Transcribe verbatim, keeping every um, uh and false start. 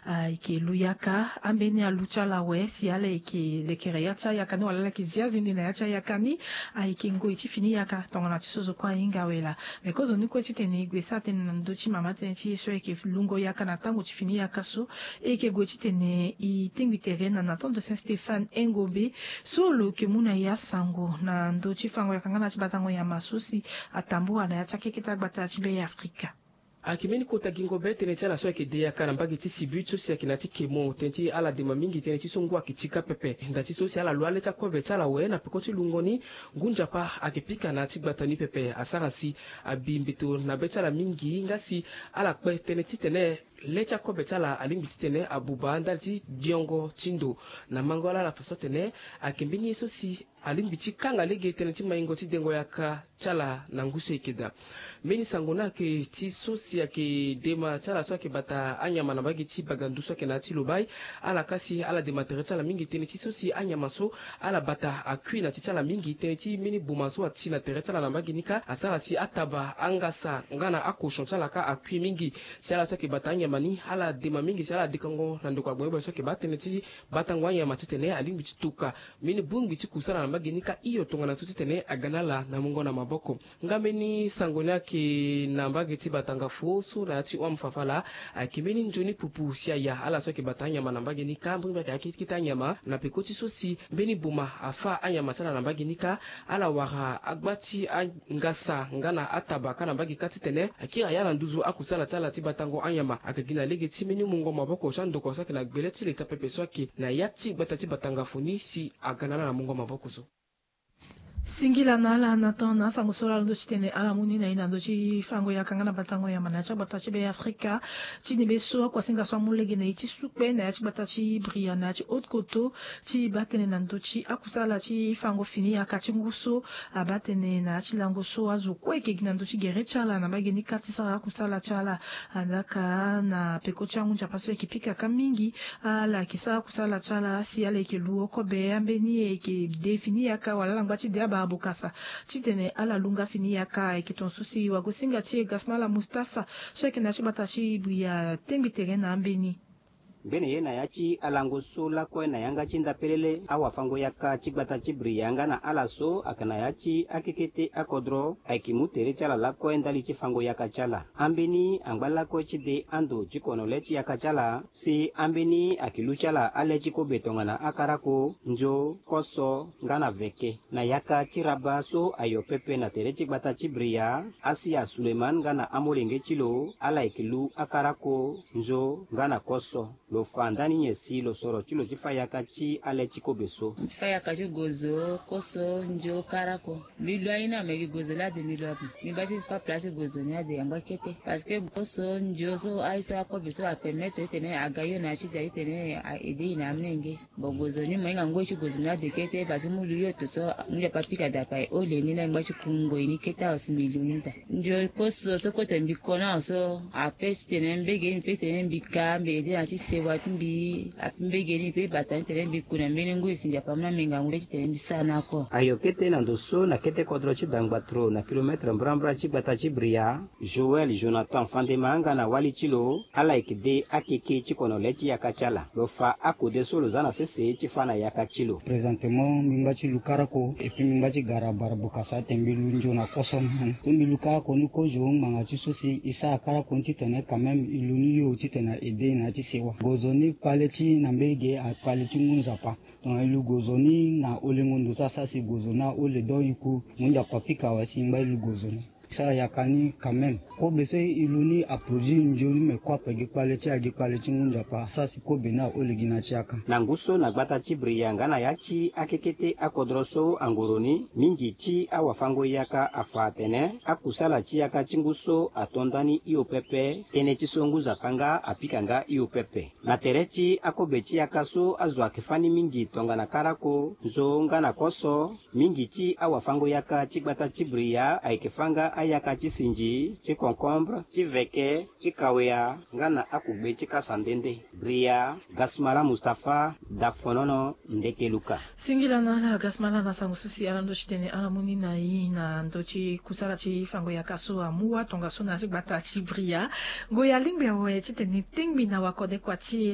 Ayeke lu yaka ambeni alu ti ala awe si ala yeke lekere ya ti ayaka ni wala ala yeke zi azende na ya ti ayaka ni. Ayeke ngoi ti fini yaka tongana ti so zo kue ahinga awe laa. Me kozoni kue titene e gue sara tënë na ndö ti mama tënë ti e so ayeke lungo yaka na tango ti fini yaka so. E yeke gue titene e tengbi tere na na temps de saint stéphane engobe so lo yeke mu na e asango na ndö ti fango yaka nga na ti batango nyama so si atambula na ya ti akekete agbata ti be ya afrika. Ayeke mbeni kota gingo be tënë ti ala so ayeke de yaka na mbage ti sibut so si ayeke na ya ti kemo tënë ti ala dema mingi tënë ti so ngu ayeke tika pepe nda ti so si ala lu ale ti akobe ti ala awe na peko ti lungo ni. Ngu nzapa ayeke pika na ya ti gbata ni pepe asara si abi mbeto na be ti ala mingi nga si ala kpe tënë titene le ti akobe ti ala alingbi titene abuba ndali ti diongo ti ndo. Na mango ala ala fa so atene ayeke mbeni ye so si alingbi ti kanga lege tënë ti maingo ti dengo yaka ti ala na ngu so e yeke daa. Mbeni sango ni ayeke ti so si ayeke dema ti ala so ayeke bata anyama na mbage ti bagandu so ayeke na ya ti lobai. Ala kasi ala dema tere ti ala mingi tënë ti so si anyama so ala bata akui na ti ti ala mingi tënë ti mbeni boma so ati na tere ti ala na mbage ni kâ asara si ataba angasa nga na akochon ti ala kâ akui mingi. Si ala so ayeke bata anyama ni ala dema mingi si ala dekango na ndoko agbongbongo so ayeke baa tënë ti batango anyama titene alingbi ti tuka mbeni bongbi ti kusala na mbage ni kâ hio tongana so titene aga na ala na mungo na maboko. Nga mbeni sango ni ayeke na mbage ti batanga fo so na ya ti hon ame fafala. Ayeke mbeni nzoni pupu si aya ala so ayeke bata anyama na mbage ni kâ mbeni mbeni ayeke akete anyama na peko ti so si mbeni boma afâ anyama ti ala na mbage ni kâ ala wara agba ti angasa nga na ataba kâ na mbage kâ titene akiri aya na nduzu akusala ti ala ti batango anyama ayeke gi na lege ti mbeni mungo maboko ti andoko so ayeke na gbele ti leta pepe so ayeke na ya ti gbata ti batanga fo ni si aga na ala na mungo maboko so. Singila na ala na tan na asango so lalo ndö ti tene ala mu ni na e na ndö ti fango yaka nga na batango yamba na ya ti agbata ti be afrika. Ti ni be so akuasinga so amu lege na e ti sukpe na ya ti gbata ti bria na ya ti haute koto ti baa tënë na ndö ti akusala ti fango fini yaka ti ngu so abaa tënë na ya ti lango so azo kue eke gi na ndö ti gere ti ala na mbage ni kâ ti sara akusala ti ala. Alaka na peko ti angu nzapa so eke pika kâ mingi ala yeke sara kusala ti ala si ala yeke lu okobe ambeni eke de fini yaka wala ala ngba ti de abara bokasa titene ala lu nga fini yaka. Eke tonga so si wagosinga ti e gasmala mustafa so ayeke na ya ti gbata ti bria tengbi tere na ambeni. Mbeni ye na ya ti alango so lakue na yanga ti ndapelele awafango yaka ti gbata ti bria nga na ala so ayeke na ya ti akekete akodro ayeke mu tere ti ala lakue ndali ti fango yaka ti ala. Ambeni angba lakue ti de ando ti kono le ti yaka ti ala si ambeni ayeke lu ti ala ale ti kobe tongana akarako, nzo, koso nga na veke. Na yaka ti raba so ayo pepe na tere ti gbata ti bria, asia suleman nga na amolenge ti lo ala yeke lu akarako, nzo nga na koso. Lo fa ndani nyen si lo soro ti lo ti fa yaka ti ale ti kobe so? Ti fa yaka ti gozo, koso, nzo, karako. Mbi lu aye ni ame gi gozo laa de mbi lu ape. Mbi ngba ti fa place ti gozo ni ade angba kete. Parce que koso, nzo so aye so akobe so apermettre titene aga yo na ya ti da titene a aide e na amolenge. Bon gozo ni mo hinga ngoi ti gozo ni ade kete parce que mu lu yo to so mu nzapa pika dapa e ole ni na e ngba ti ku ngoi ni kete awe si mbi lu ni daa. Ndio koso so kue tene mbi ko na awe so ape titene mbege ni mbi pe tene mbi ka mbi ede na ti sewa ti mbi. Ape mbege ni mbi pe bata ni tene mbi ku na mbeni ngoi si nzapa mu na minga ngoi titene mbi sara na ako. Ayo kete na ndo so na kete kodro ti dangbatro na kilometre mbrambra ti gbata ti bria. Joël jonathan fandema nga na wali ti lo ala yeke de akeke ti kono le ti yaka ti ala. Lo fa akode so lo za na sese ti fa na yaka ti lo. Présentement mbi ngba ti lu karako epui mbi ngba ti gara bara bokasa tene mbi lu nzo na koso ni. So mbi lu karako ni kozo ngbanga ti so si e sara karako ni titene quand même e lu ni yo titene a aide e na ya ti sewa. Gozo ni kpale ti na mbege akpale ti ngu nzapa. Tongana e lu gozo ni na olengo ndo so asara si gozo ni aole donc e ku ngu nzapa pika awe si e ngba e lu gozo ni. Sara yaka ni quand même kobe so e lu ni aproduit nzoni me kue ape gi kpale ti agi kpale ti ngu nzapa asara si kobe ni aole gi na ti yaka. Na ngu so na gbata ti bria nga na ya ti akekete akodro so angoro ni mingi ti awafango yaka afa atene akusala ti yaka ti ngu so ato ndani hio pepe. Tënë ti so ngu nzapa nga apika nga hio pepe. Na tere ti akobe ti yaka so azo ayeke fâ ni mingi tongana karako, nzo nga na koso. Mingi ti awafango yaka ti gbata ti bria ayeke fâ nga ayaka ti sinzi, ti concombre, ti veke, ti kawea nga na akugbe ti kasa nde nde. Bria, gasmala mustafa, dafonono, ndeke luka. Singila na ala gasmala na sango so si ala ndö ti tene ala mu ni na e na ndö ti kusala ti fango yaka so amu wa tongaso na ya ti gbata ti bria. Ngoi alingbi awe titene e tengbi na wakode kua ti e.